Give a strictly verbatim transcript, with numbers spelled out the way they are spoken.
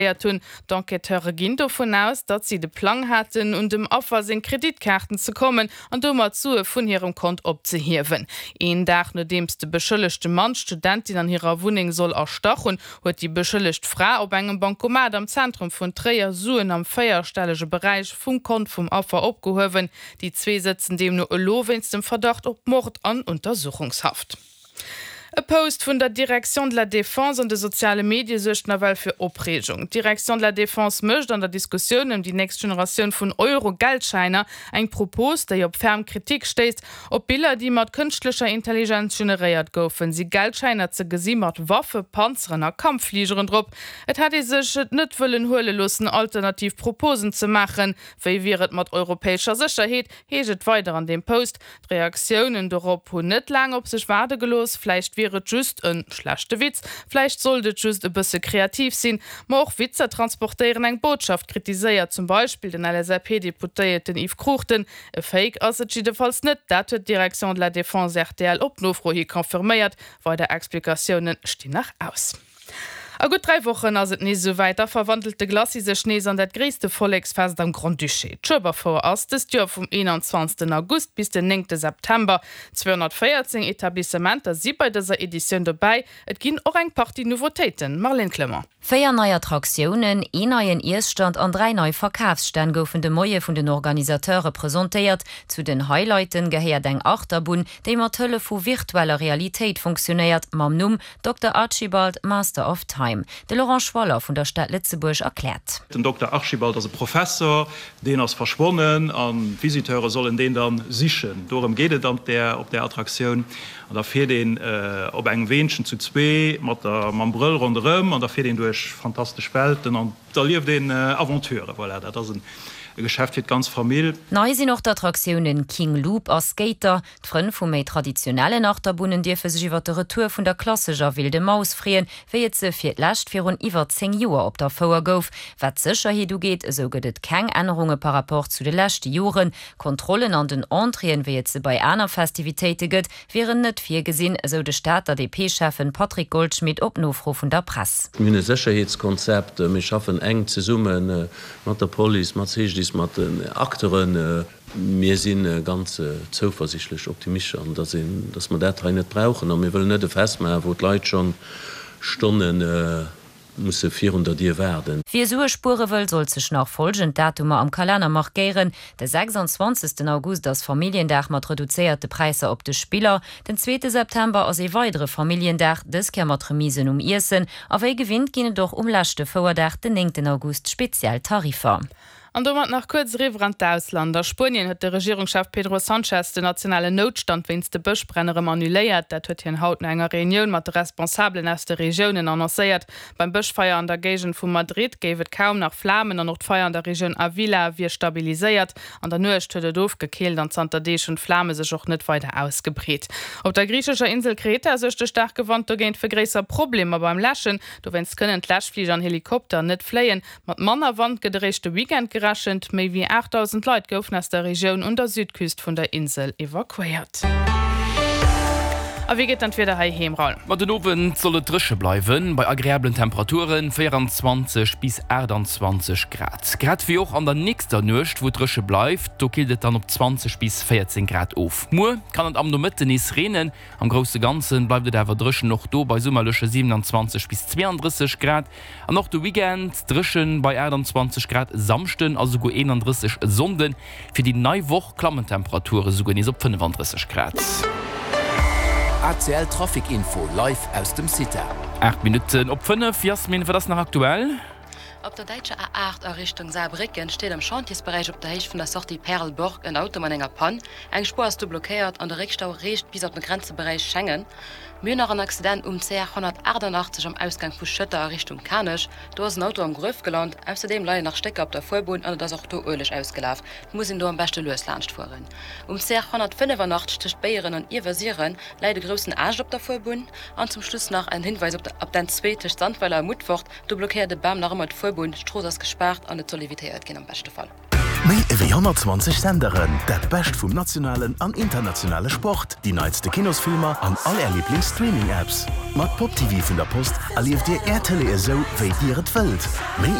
Hunn. D'Enquêteure ginn dovun aus, datt si de Plang haten, un dem Affer seng Kreditkaarten ze kommen an domat Sue vun hirem Kont opzehiewen. Een Dag nodeems de beschëllegte Mann d'Studentin an hirer Wunneng soll erstach hunn, huet déi beschëllegt Fra op engem Bancomat am Zentrum vun Tréier Suen am véierstellege Beräich vum Kont vum Affer opgehuewen. Déi zwee sëtzen deemno elo wéinst dem Verdacht op Mord an Untersuchungshaft. E Post vun der Direction de la Défense an de soziale Medie suergt nawell fir Opreegung. D'Direction de la Défense mécht an der Diskussioun ëm déi nächst Generatioun vun Euro-Geldschäiner eng Propos, déi op ferm Kritik stéisst. Op Biller, déi mat kënschtlecher Intelligenz generéiert goufen, si Geldschäiner ze gesi mat Waffe, Panzeren a Kampffligeren drop. Et hätt ee sech et net wëllen huele loossen, alternativ Proposen ze maachen. Wéi wier et mat europäescher Sécherheet, heescht et weider an deem Post. D'Reaktiounen dorop hunn net laang op sech waarde gelooss. Vläicht wier et just e schlechte Witz, vläicht sollt et just e bësse kreativ sinn. Ma och Witzer transportéieren eng Botschaft, kritiséiert zum Beispill den L S A P-Deputéierten Yves Cruchten. E Fake ass et jiddefalls net, dat huet d'Direction de la Défense R T L op Nofro hi confirméiert. Weider Explikatioune stinn nach aus. A gutt dräi Wochen ass et nees esouwäit, da verwandelt de Glacis sech nees an dat gréisste Volleksfest am Grand-Duché. D'Schueberfouer ass dëst Joer vum eenanzwanzegsten August bis den néngte September. Zweehonnertvéierzéng Etablissementer si bei dëser Editioun dobäi. Et ginn och eng Partie Nouveautéiten. Marlène Clement. Véier nei Attraktiounen, een neien Iesstand an dräi nei Verkafsstänn goufen de Moie vun den Organisateure presentéiert. Zu den Highlighten gehéiert eng Achterbunn, déi mat Hëllef vu virtueller Realitéit funktionéiert, mam Numm Dokter Archibald Master of Time. De Laurent Schwaller vun der Stad Lëtzebuerg erkläert. Den Dokter Archibald ass e Professer, deen ass verschwonnen an d'Visiteure sollen deen dann sichen. Dorëm geet et an der op der Attraktioun. An da fiert een op engem Weenchen zu zwee mat der mam Brëll ronderëm an da fiert een duerch fantastesch Welten an erlieft een Aventuren. Voilà, dat ass en e Geschäft fir d'ganz Famill. Nei sinn och d'Attraktiounen King Loop a Skater. D'Frënn vu méi traditionellen Achterbunnen dierfe sech iwwer de Retour vun der klassescher Wilde Maus freeën, wéi et se fir d'lescht virun iwwer zéng Joer op der Fouer gouf. Wat d'Sécherheet ugeet, esou gëtt et keng Ännerunge par rapport zu de leschte Joren. Kontrollen an den Entréeën, wéi et se bei aner Festivitéite gëtt, wieren net virgesinn, esou de Stater D P-Schäffen Patrick Goldschmidt op Nofro vun der Press. Mir hunn e Sécherheetskonzept, mir schaffen enk zesumme mat der Police, mat C G D I S, mat den Acteuren. Mir si ganz zouversiichtlech, optimistesch an dass een, dass mer dat hei net brauchen. A mir wëllen net e Fest maachen, wou d'Leit schonn Stonne musse virun der Dier waarden. Wie Sue spuere wëll, sollt sech nach follgend Datumer am Kalenner markéieren. De sechsanzwanzegsten August ass Familljendag mat reduzéierte Präisser op de Spiller. Den zweete September ass e weidere Familljendag, dës Kéier mat Remisen um Iessen. A wéi gewinnt ginn et och um leschte Fouerdag, den néngten August, speziell Tariffer. An domat nach kuerz eriwwer an d'Ausland. A Spuenien huet de Regierungschef Pedro Sánchez den nationalen Noutstand wéinst de Bëschbränn erëm annuléiert. Dat huet hien haut no enger Reunioun mat de Responsabelen aus de Regiounen annoncéiert. Beim Bëschfeier an der Géigend vu Madrid géif et kaum nach Flamen an och d'Feier an der Regioun Avila wier stabiliséiert. An der Nuecht huet et ofgekillt an zanter Deeg hunn d'Flame sech och net weider ausgebreet. Op der griichescher Insel Kreta suergt de staarke Wand dogéint fir gréisser Problemer beim Läschen. Dowéinst kënnen d'Läschfliger an Helikopter net fléien. Mat manner Wand gëtt eréischt de Weekend gerechent. Méi wéi aachtdausend Leit goufen aus der Regioun un der Südküst vun der Insel evakuéiert. A wéi geet dann d'Wieder heiheem, Raoul? Ma den Owend soll et dréche bleiwen, bei agreablen Temperaturen, véieranzwanzeg bis aachtanzwanzeg Grad. Grad wéi och an der nächster Nuecht, wou et dréche bleift, do killt et dann op zwanzeg bis véierzéng Grad of. Muer kann et am Nomëtten nees reenen, am grousse Ganze bleift et awer dréchen, och do bei summerleche siewenanzwanzeg bis zweeandrësseg Grad. An och de Weekend dréchen bei aachtanzwanzeg Grad Samschden a souguer eenandrësseg e Sonnden. Fir déi nei Woch klammen d'Temperature souguer nees op fënnefandrësseg Grad. A C L Trafic Info live aus dem CITA. Aacht Minutten op fënnef. Jasmin, wat ass nach aktuell? Op der däitscher A aacht a Richtung Saarbrécken steet am Chantiersberäich op der Héicht vun der Sortie Perleborg en Auto mat enger Pann. Eng Spuer ass do blockéiert an de Réckstau reecht bis op de Grenzeberäich Schengen. Mir hunn nach en Accident um C R honnertaachtanachteg am Ausgang vu Schëtter a Richtung Kanech. Do ass en Auto am Gruef gelant. Ausserdeem leien nach Stécker op der Fuerbunn an et ass och do Ueleg ausgelaf. Et muss een do am beschte lues laanscht fueren. Um C R honnertfënnefanachtzeg tëscht Beyeren an Iewersiren läit e groussen Aascht op der Fuerbunn. An zum Schluss nach en Hinweis op der N zwee tëscht Sandweiler a Mutfert. Do blockéiert e Bam nach ëmmer d'Fuerbunn. D'Strooss ass gespaart an et soll evitéiert ginn am beschte Fall. Méi ewéi honnertzwanzeg Senderen, dat Bescht vum nationalen an internationale Sport, déi neitste Kinosfilmer an all Är Liiblings-Streaming-Apps. Mat Pop T V vun der Post erlieft Dir Är Tëlee esou, wéi Dir et wëllt. Méi